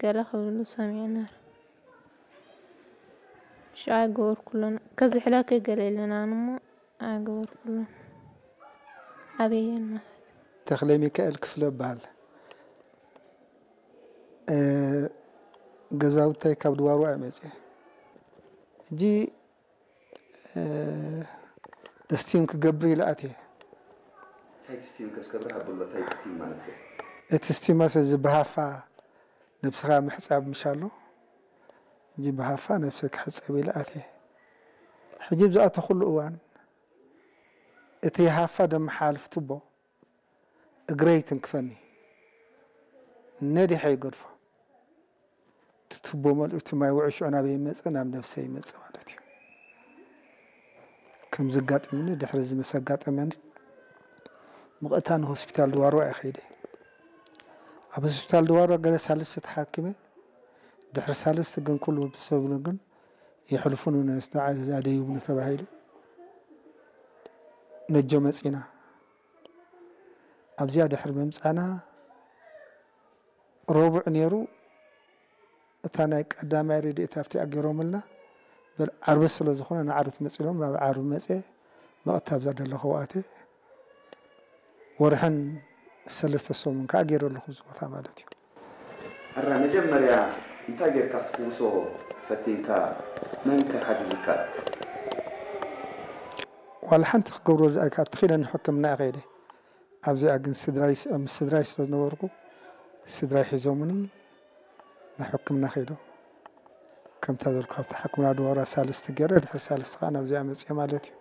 ገለ ክብሉ ሰሚዐ ነር። ሽዓ ኣይገበርኩሎን። ከዚ ሕላከይ ገለ ኢለና እሞ ኣይገበርኩሎን። ኣበየን ማለት። ተኽለ ሚካኤል ክፍለ እበሃል። እ፣ ገዛውታይ ካብ ድዋርዋ እየ መፅየ። ሕጂ እ፣ ደስቲም ክገብር ኢለ ኣትየ። እንታይ እቲ ስቲም ከስከብር ሃብሎ እንታይ እቲ ስቲም ማለት እዩ? እቲ ስቲማስ እዚ ብሃፋ ነብስኻ ምሕፃብ ምሻሎ እንጂ ብሃፋ ነብሰ ክሕፀብ ኢለ ኣትየ። ሕጂ ብዝኣተኹሉ እዋን እቲ ሃፋ ደመሓላልፍ ቱቦ እግረይ ትንክፈኒ፣ ነዲሐ ይገድፎ። እቲ ቱቦ መልኡ እቲ ማይ ውዑይ ሽዑ ናበይ ይመፅእ? ናብ ነብሰ ይመፅእ ማለት እዩ። ከም ዘጋጥምኒ ድሕሪ እዚ ምስ ኣጋጠመኒ ምቕእታ ንሆስፒታል ድዋሮ እየ ከይደ። ኣብ ሆስፒታል ድዋሮ ገለ ሳልስቲ ተሓኪመ። ድሕሪ ሳልስቲ ግን ኩሉ ብሰብሉ ግን የሕልፉኑ ነስተ ዓዛ ደይቡኒ ተባሂሉ ነጆ መፂና። ኣብዚኣ ድሕሪ ምምፃና ረቡዕ ነይሩ። እታ ናይ ቀዳማይ ረድኤት ኣብቲ ኣገይሮምልና በል ዓርቢ ስለ ዝኾነ ንዓርቢ ትመፅእ ኢሎም ናብ ዓርቢ መፅየ። መቐት ኣብዛ ዘለኹ ኣተ ወርሕን ሰለስተ ሰሙን ከዓ ገይረ ኣለኹ ኣብዚ ቦታ ማለት እዩ። ሕራ መጀመርያ እንታይ ጌርካ ክትፍውሶ ፈቲንካ? መን ከ ሓጊዝካ? ዋላ ሓንቲ ክገብሮ ዝኣካ ተኺለ ንሕክምና እየ ከይደ። ኣብዚኣ ግን ስድራይ ምስ ስድራይ ስለ ዝነበርኩ ስድራይ ሒዞምኒ ናብ ሕክምና ከይዶም። ከምታ ዘልኩ ካብታ ሕክምና ድዋራ ሳልስቲ ገይረ ድሕሪ ሳልስቲ ከዓ ናብዚኣ መፅየ ማለት እዩ።